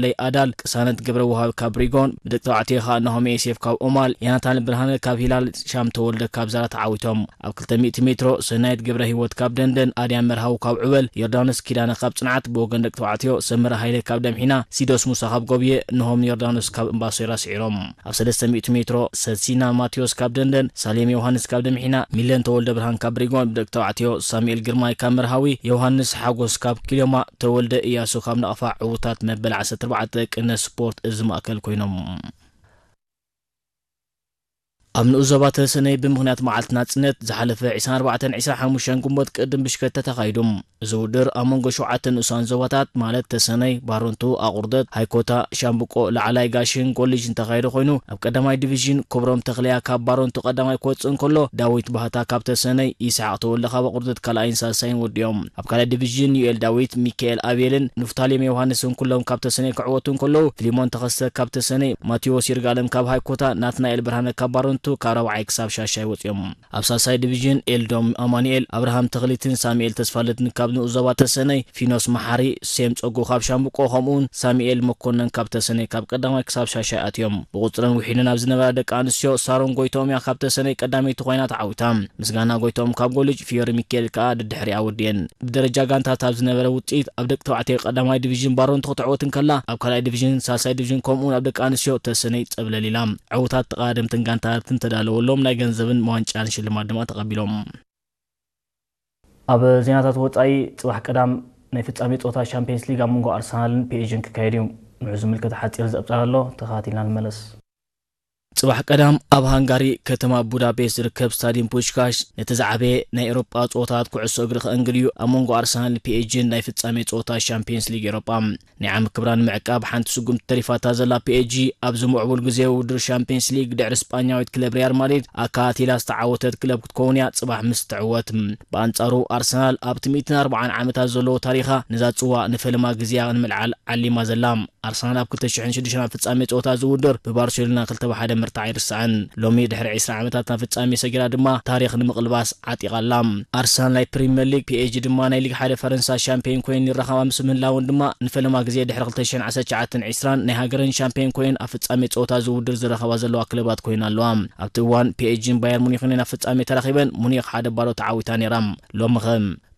ለይ ኣዳል፣ ቅሳነት ገብረ ውሃብ ካብ ሪጎን፣ ብደቂ ተባዕትዮ ኸኣ ናሆም ዮሴፍ ካብ ኦማል፣ ዮናታን ብርሃነ ካብ ሂላል፣ ሻም ተወልደ ካብ ዛራ ተዓዊቶም። ኣብ ክልተ ሚእቲ ሜትሮ ሰናይት ገብረ ህይወት ካብ ደንደን፣ ኣድያም መርሃዊ ካብ ዕበል፣ ዮርዳኖስ ኪዳነ ካብ ጽንዓት፣ ብወገን ደቂ ተባዕትዮ ሰመረ ሃይለ ካብ ደምሒና፣ ሲዶስ ሙሳ ካብ ጎብየ፣ ናሆም ዮርዳኖስ ካብ እምባሶይራ ስዒሮም። ኣብ ሰለስተ ሚእቲ ሜትሮ ሰሲና ማቴዎስ ካብ ደንደን፣ ሳሌም ዮሃንስ ካብ ደምሒና፣ ሚለን ተወልደ ብርሃን ካብ ሪጎን፣ ብደቂ ተባዕትዮ ሳሙኤል ግርማይ ካብ መርሃዊ፣ ዮሃንስ ሓጎስ ካብ ኪሎማ፣ ተወልደ እያሱ ካብ ናቕፋ ዕዉታት መበል ዓሰርተ ኣርባዕተ ቅነ ስፖርት እዚ ማእከል ኮይኖም። ኣብ ንኡስ ዞባ ተሰነይ ብምኽንያት መዓልቲ ናጽነት ዝሓለፈ ዕስራን ኣርባዕተን ዕስራን ሓሙሽተን ግንቦት ቅድም ብሽከተ ተኻይዱ። እዚ ውድድር ኣብ መንጎ ሸውዓተ ንኡሳን ዞባታት ማለት ተሰነይ፣ ባረንቱ፣ ኣቑርደት፣ ሃይኮታ፣ ሻምብቆ፣ ላዕላይ ጋሽን ኮሌጅን ተኻይዱ ኮይኑ፣ ኣብ ቀዳማይ ዲቪዥን ክብሮም ተኽለያ ካብ ባረንቱ ቀዳማይ ክወጽእ እንከሎ፣ ዳዊት ባህታ ካብ ተሰነይ፣ ይስሓቕ ተወልደ ካብ ኣቑርደት ካልኣይን ሳልሳይን ወዲኦም። ኣብ ካልኣይ ዲቪዥን ዩኤል ዳዊት፣ ሚካኤል ኣቤልን ንፍታሌም ዮሃንስን ኩሎም ካብ ተሰነይ ክዕወቱ እንከለዉ፣ ፊሊሞን ተኸስተ ካብ ተሰነይ፣ ማቴዎስ ይርጋለም ካብ ሃይኮታ፣ ናትናኤል ብርሃነ ካብ ባረንቱ ካብ ራብዓይ ክሳብ ሻሻይ ወጺኦም። ኣብ ሳልሳይ ዲቪዥን ኤልዶም ኣማኑኤል፣ ኣብርሃም ተኽሊትን ሳሙኤል ተስፋልድን ካብ ንኡስ ዞባ ተሰነይ፣ ፊኖስ መሓሪ፣ ሴም ጸጉ ካብ ሻምብቆ ከምኡውን ሳሙኤል መኮነን ካብ ተሰነይ ካብ ቀዳማይ ክሳብ ሻሻይ ኣትዮም። ብቑጽረን ውሒደን ኣብ ዝነበራ ደቂ ኣንስትዮ ሳሮን ጎይቶኦም እያ ካብ ተሰነይ ቀዳመይቲ ኮይና ተዓዊታ። ምስጋና ጎይቶኦም ካብ ጎልጅ፣ ፊዮሪ ሚካኤል ከኣ ደድሕሪኣ ወዲኤን። ብደረጃ ጋንታት ኣብ ዝነበረ ውጽኢት ኣብ ደቂ ተባዕትዮ ቀዳማይ ዲቪዥን ባረንቱ ክትዕወት እንከላ ኣብ ካልኣይ ዲቪዥን ሳልሳይ ዲቪዥን ከምኡውን ኣብ ደቂ ኣንስትዮ ተሰነይ ጸብለል ኢላ። ዕዉታት ተቐዳደምትን ጋንታታትን ተዳለወሎም ናይ ገንዘብን ዋንጫን ሽልማት ድማ ተቐቢሎም። ኣብ ዜናታት ወጻኢ ጽባሕ ቀዳም ናይ ፍጻሜ ጸወታ ሻምፒየንስ ሊግ ኣብ መንጎ ኣርሰናልን ፒኤስጂን ክካየድ እዩ። ንዑ ዝምልከት ሓጺር ዘብጻል ኣሎ፣ ተኸታቲልና ንመለስ። ጽባሕ ቀዳም ኣብ ሃንጋሪ ከተማ ቡዳፔስት ዝርከብ ስታድየም ፑሽካሽ ነቲ ዝዓበየ ናይ ኤውሮጳ ጸወታታት ኩዕሶ እግሪ ከእንግድ እዩ። ኣብ መንጎ ኣርሰናል ፒኤስጂን ናይ ፍጻሜ ጸወታ ሻምፒየንስ ሊግ ኤውሮጳ ናይ ዓሚ ክብራን ምዕቃብ ሓንቲ ስጉምቲ ተሪፋታ ዘላ ፒኤስጂ ኣብዚ ምዕቡል ግዜ ውድድር ሻምፒየንስ ሊግ ድሕሪ ስጳኛዊት ክለብ ሪያል ማድሪድ ኣካቲላ ዝተዓወተት ክለብ ክትከውን እያ ጽባሕ ምስ ትዕወት። ብኣንጻሩ ኣርሰናል ኣብቲ ሚእትን ኣርባዓን ዓመታት ዘለዎ ታሪኻ ነዛ ጽዋ ንፈለማ ግዜያ ንምልዓል ዓሊማ ዘላ። ኣርሰናል ኣብ ክልተ ሽሕን ሽዱሽተን ኣብ ፍጻሜ ጸወታ ዝውድር ብባርሴሎና ክልተ ብ ሓደ ምርታዕ ኣይርሳዕን። ሎሚ ድሕሪ ዕስራ ዓመታት ናብ ፍጻሜ ሰጊራ ድማ ታሪኽ ንምቕልባስ ዓጢቓ ኣላ። ኣርሰናል ናይ ፕሪምየር ሊግ፣ ፒኤስጂ ድማ ናይ ሊግ ሓደ ፈረንሳ ሻምፒዮን ኮይኑ ይረኸባ ምስ ምህላወን ድማ ንፈለማ ግዜ ድሕሪ ክልተ ሽሕን ዓሰርተ ትሽዓተን ዕስራን ናይ ሃገረን ሻምፒዮን ኮይነን ኣብ ፍጻሜ ጸወታ ዝውድር ዝረኸባ ዘለዋ ክለባት ኮይነን ኣለዋ። ኣብቲ እዋን ፒኤስጂን ባየር ሙኒኽን እየን ኣብ ፍጻሜ ተራኺበን፣ ሙኒኽ ሓደ ባዶ ተዓዊታ ነይራ። ሎምኸ?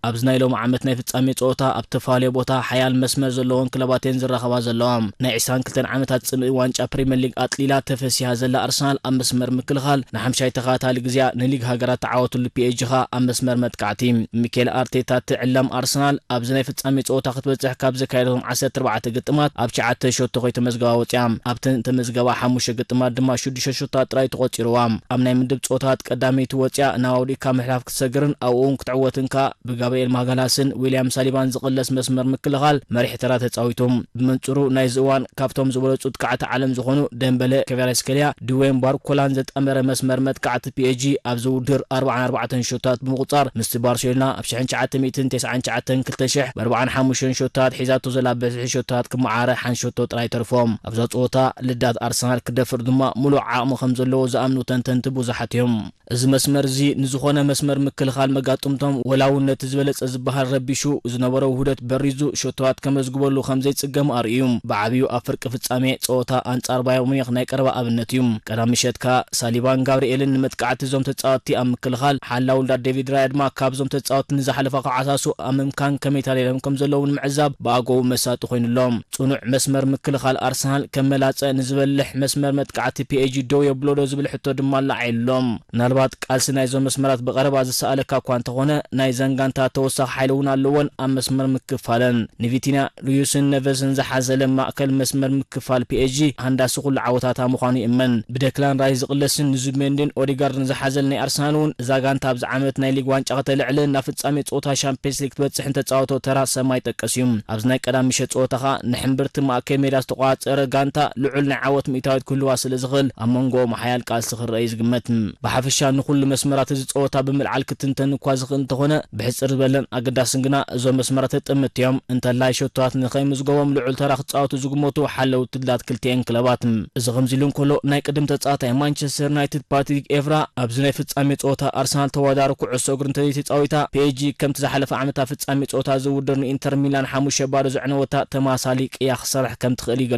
ኣብዚ ናይ ሎሚ ዓመት ናይ ፍጻሜ ጸወታ ኣብ ተፈላለየ ቦታ ሓያል መስመር ዘለወን ክለባት እየን ዝራኸባ ዘለዋ። ናይ ዕስራን ክልተን ዓመታት ጽምኢ ዋንጫ ፕሪምየር ሊግ ኣጥሊላ ተፈሲሃ ዘላ ኣርሰናል ኣብ መስመር ምክልኻል ንሓምሻይ ተኸታታሊ ግዜኣ ንሊግ ሃገራት ተዓወትሉ ፒኤስጂ ኸኣ ኣብ መስመር መጥቃዕቲ። ሚኬል ኣርቴታ ትዕለም ኣርሰናል ኣብዚ ናይ ፍጻሜ ጸወታ ክትበጽሕ ካብ ዘካየደቶም ዓሰርተ ኣርባዕተ ግጥማት ኣብ ትሽዓተ ሸቶ ከይተመዝገባ ወጺኣ። ኣብተን ተመዝገባ ሓሙሽተ ግጥማት ድማ ሽዱሽተ ሸቶታት ጥራይ ተቖጺርዋ። ኣብ ናይ ምድብ ጸወታታት ቀዳመይቲ ወጺኣ ናብ ኣውዲእካ ምሕላፍ ክትሰግርን ኣብኡ እውን ክትዕወትን ከኣ ብጋብርኤል ማጋላስን ዊልያም ሳሊባን ዝቕለስ መስመር ምክልኻል መሪሕ ተራ ተጻዊቱ። ብመንጽሩ ናይዚ እዋን ካብቶም ዝበለጹ ጥቃዕቲ ዓለም ዝኾኑ ደምበለ፣ ክቫራትስኬልያ፣ ድዌን ባርኮላን ዘጣመረ መስመር መጥቃዕቲ ፒኤስጂ ኣብዚ ውድድር ኣርባዓን ኣርባዕተን ሸቶታት ብምቑጻር ምስቲ ባርሴሎና ኣብ ሽሕን ትሽዓተ ሚእትን ተስዓን ትሽዓተን ክልተ ሽሕ ብ ኣርባዓን ሓሙሽተን ሸቶታት ሒዛቶ ዘላ ብዝሒ ሸቶታት ክመዓረ ሓንቲ ሸቶ ጥራይ ተርፎ። ኣብዛ ጸወታ ልዳት ኣርሰናል ክደፍር ድማ ምሉእ ዓቕሚ ከም ዘለዎ ዝኣምኑ ተንተንቲ ብዙሓት እዮም። እዚ መስመር እዚ ንዝኾነ መስመር ምክልኻል መጋጥምቶም ወላ እውን ነቲ ዝበለጸ ዝበሃል ረቢሹ ዝነበሮ ውህደት በሪዙ ሸቶታት ከመዝግበሉ ከም ዘይጽገም ኣርእዩ። ብዓብዩ ኣብ ፍርቂ ፍጻሜ ጸወታ ኣንጻር ባየር ሙኒኽ ናይ ቀረባ ኣብነት እዩ። ቀዳም ምሸት ከኣ ሳሊባን ጋብርኤልን ንመጥቃዕቲ እዞም ተጻወትቲ ኣብ ምክልኻል፣ ሓላው ልዳት ዴቪድ ራያ ድማ ካብዞም ተጻወትቲ ንዝሓለፋ ክዓሳሱ ኣብ ምምካን ከመይ ተዳሊሎም ከም ዘለዉ ንምዕዛብ ብኣገቡ መሳጢ ኮይኑሎም። ጽኑዕ መስመር ምክልኻል ኣርሰናል ከመላጸ ንዝበልሕ መስመር መጥቃዕቲ ፒኤስጂ ደው የብሎ ዶ ዝብል ሕቶ ድማ ኣላዒሉ ኣሎ። ምናልባት ቃልሲ ናይዞም መስመራት ብቐረባ ዝሰኣለካ እኳ እንተኾነ፣ ናይ ዘን ጋንታ ተወሳኺ ሓይሊ እውን ኣለወን ኣብ መስመር ምክፋለን። ንቪቲንያ፣ ሉዩስን ነቨስን ዝሓዘለ ማእከል መስመር ምክፋል ፒኤስጂ ሃንዳሲ ኩሉ ዓወታታ ምዃኑ ይእመን። ብደክላን ራይስ ዝቕለስን ንዙቢሜንዲን ኦዲጋርድን ዝሓዘለ ናይ ኣርሰናል እውን እዛ ጋንታ ኣብዚ ዓመት ናይ ሊግ ዋንጫ ከተልዕልን ናብ ፍጻሜ ጸወታ ሻምፒየንስ ሊግ ክትበጽሕን ተጻወቶ ተራ ሰማይ ጠቀስ እዩ። ኣብዚ ናይ ቀዳም ምሸት ጸወታ ኸኣ ንሕምብርቲ ማእከል ሜዳ ዝተቖጻጸረ ጋንታ ልዑል ናይ ዓወት ሚእታዊት ክህልዋ ስለ ዝኽእል ኣብ መንጎኦም ሓያል ቃልሲ ክረአ እዩ ዝግመት። ብሓፈሻ ንኹሉ መስመራት እዚ ጸወታ ብምልዓል ክትንተን እኳ ዝኽእል እንተኾነ ብሕጽር ዝበለን ኣገዳስን ግና እዞም መስመራት ጥምት እዮም። እንተላይ ሸቶታት ንኸይምዝገቦም ልዑል ተራ ክጻወቱ ዝግመቱ ሓለውቲ ድላት ክልቲኤን ክለባት። እዚ ከምዚ ኢሉ እንከሎ፣ ናይ ቅድም ተጻዋታይ ማንቸስተር ዩናይትድ ፓትሪክ ኤቭራ ኣብዚ ናይ ፍጻሜ ጸወታ ኣርሰናል ተወዳዳሪ ኩዕሶ እግሪ እንተዘይተጻዊታ፣ ፒኤስጂ ከምቲ ዝሓለፈ ዓመት ኣብ ፍጻሜ ጸወታ ዝውድር ንኢንተር ሚላን ሓሙሽተ ባዶ ዘዕነወታ ተማሳሊ ቅያ ክሰርሕ ከም ትኽእል ይገልጽ።